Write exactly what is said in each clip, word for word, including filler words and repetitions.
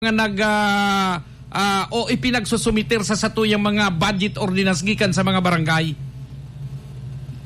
nga nag, ah, ah, o ipinagsusumiter sa satuyang mga budget ordinance gikan sa mga barangay?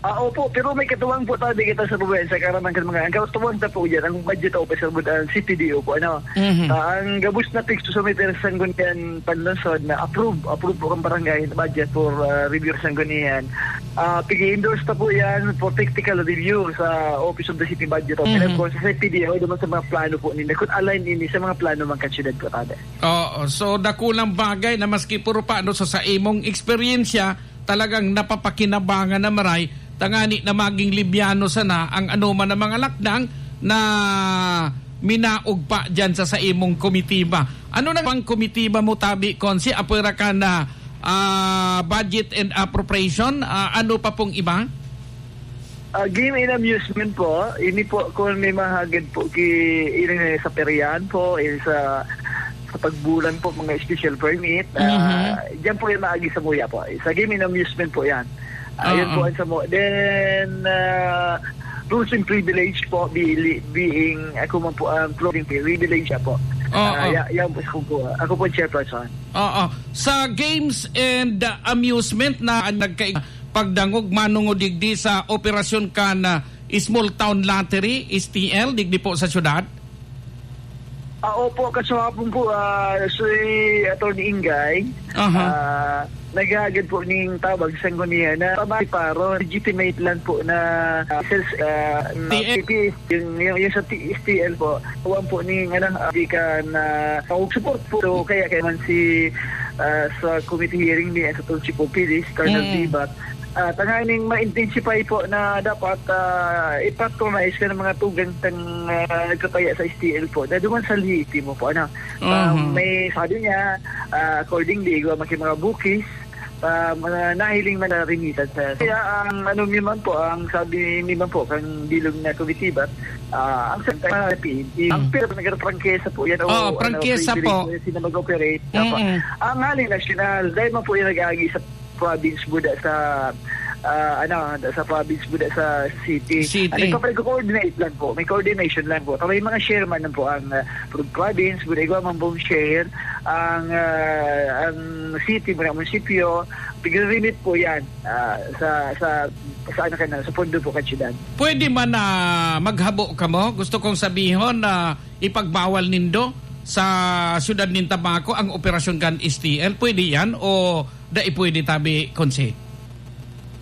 Ah, opo, pero may katuwang po tabi kita sa probinsya, karamihan kan mga, ang katuwang ta po dyan, ang budget officer po, ang C P D O po, ano. Mhm. Ah, ang gabos na pigsusumiter sa Sangguniang Panlungsod na approve, approve po ang barangay budget for, ah, review sa Sangguniang. Ah, pig-endorse ta po yan for technical review sa Office of the City Budget. And of Mhm. course, sa C P D O, naman sa mga plano po ninda, kung align ini sa mga plano man kan syudad po, tabi. Oo, so dakulang bagay na maski puro pa, no, so sa imong eksperyensya, talagang napapakinabangan na maray, tangani na maging libyano sana ang anoman na mga lakdang na minaog pa dyan sa, sa imong komitiba. Ano na bang komitiba mo, tabi, Konsi? Apwera ka na, ah, budget and appropriation, ah, ano pa pong iba? Ah, game and amusement po. Ini po, kung may mahagad po ki, ini sa peryahan po, ini sa, sa pagbulan po, mga special permit. Ah, Mhm. Diyan po yung maagi sa muya po. Sa game and amusement po yan. Ah, yun Oo. po ang sa mo. Then, ah, rules and privilege po, bili, being, ako man po ang clothing privilege po. Oo. Ah, ya-, yan po, ako po, ako po ang chairperson. Oo. Sa games and, ah, amusement na nagka-, pagdangog manungod digdi sa operasyon kan, ah, Small Town Lottery, S T L, digdi po sa syudad? Ah, opo, kaswapon po, ah, si Attorney Ingay, Aha. ah, naghahagad po ning tabang sa Sangguniang na pamari paro, legitimate lang po na, ah, sales, ah, na T L. P P S, yung, yung, yung sa T-, S T L po, kuwan po ning, ano, ah, di ka na, ah, support po. So, kaya, kaya man si, ah, sa committee hearing ni, sa Tunchi Popilis, Colonel Mm. Dibat, ah, tanganing ma-intensify po na dapat, ah, ipatronize ka ng mga tugang tang, ah, nagkataya sa S T L po. Na duman sa Leyte mo po, ano. Ah, Mhm. may sabi niya, ah, accordingly, igwa man kay mga bukis, ah, mga nahiling man na remittance. Kaya ang ano mi man po, ang sabi mi man po, kang bilog na komitiba, ah, ang sa, ah, P N P. Ang Mm. pero nagkaprangkesa po yan, o, Oo, ano, prangkesa privilege po. po yan, sila mag-operate. Apo. Mm-mm. Ang hali nasyonal, dahil man po yung nag-aagi sa province, buda sa, ah, ano, sa province, buda sa city. City. Ano, nagpapag-coordinate lang po. May coordination lang po. Kami mga share man lang po ang, ah, pro-, province, buda igwa man pong share. Ang, ah, ang city, mga munisipyo, pigre-remit po yan, ah, sa, sa, sa, ano ka na, sa pondo po kan syudad. Pwede man na maghabo kamo? Gusto kong sabihon na ipagbawal nindo sa syudad nin Tabaco ang operasyon kan S T L. Pwede yan o dai pwede, tabi, Konsi?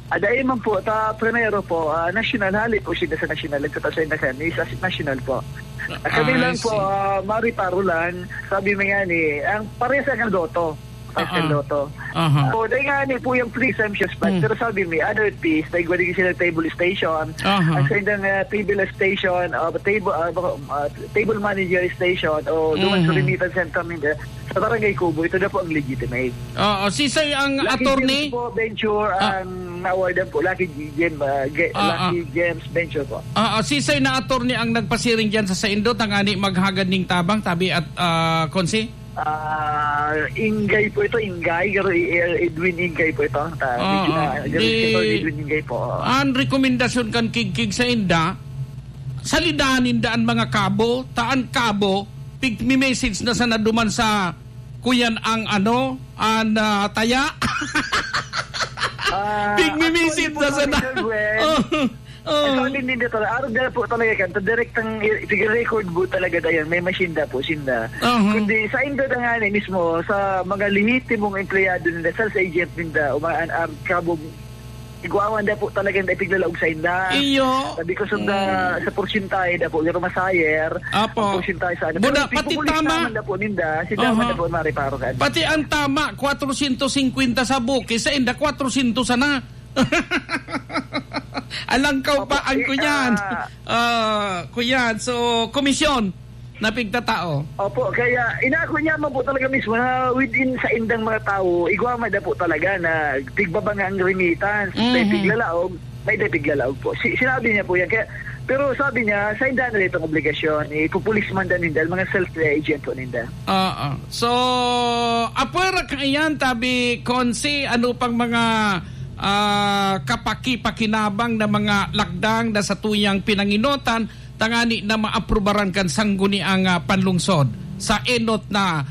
Ah, dai man po. Ta, primero po, ah, nasyonal, hali po siya sa nasyonal. Nagtataw sa inakan, is as national po. Ah, kami Ah, lang I po, see. ah, mari paro lang. Sabi mo nga ni, ang parehas ang Lotto. Pascal Ah, ah. Lotto. Aha. So, dahil nga ni po yung presumptions, but Hmm. pero sabi mi, ano it is, dahil wala sila table station. Aha. Ang sa indang, ah, table station, ah, table, ah, baka, ah, table manager station, o doon sa Mhm. remittance center ninda, sa Barangay Kubo, ito na po ang legitimate. Oo, sisay ang Lucky attorney? Gems po, venture, Ah. ang na-awardan po. Lucky Gem, ah, ge-, Ah, ah. Lucky Gems Venture po. Ah, ah, sisay na attorney ang nagpasiring dyan sa saindo, tangani maghagad ning tabang, tabi at, ah, Konsi? Ah, Ingay po ito, Ingay. Garo, eh, Edwin Ingay po ito. Ta-, medyo Oo, na, garo di, si Attorney Edwin Ingay po. Oo. Ang rekomendasyon kan Kigkig sa inda, salidahan ninda an mga kabo, ta an kabo, pig-message na sana duman sa kuyan ang ano, an, ah, taya. Ah, Pig-message actually po, na sana. Sir Gwen, Oh. Oo. Sa amin din dito, araw na po talaga kan, ta direktang i-, sige, record po talaga dayan, may machine da po, sinda. Aha. Kundi sa inda na nga ni mismo, sa mga lehitimong empleyado ninda, sales agent ninda, umaan, um, kabog, igwawan da po talaga na ipiglalaog sa inda. Iyo. Sabi ko, sunda, Mm. sa porsyentahe da po, pero masayer, Apo. ang porsyentahe sa ano. Buda, Pero pati pipupulis tama. naman da po ninda, sila Aha. man da po mariparo ka. Pati ang tama, kwatrosyentos singkwenta sa buki, sa inda, kwatrosyentos sana. Alangkaw Opo, pa ang eh, kuyan. ah, Ah, kuyan. So, komisyon na pigtatao. Opo, kaya inako niya man po talaga mismo na within sa indang mga tao, igwa man da po talaga na tigbaba nga ang remittance, may Mhm. tiglalaog, may da tiglalaog po. Si-, sinabi niya po yan. Kaya, pero sabi niya, sa inda na itong obligasyon, ipupulis man da ninda, mga self-agent po ninda. Oo. So, apwera kaiyan, tabi, Konsi, ano pang mga, ah, kapaki-pakinabang na mga lakdang na sa tuyang pinanginotan, tangani na maaprubaran kan sangguniang, ah, panlungsod? sa enot na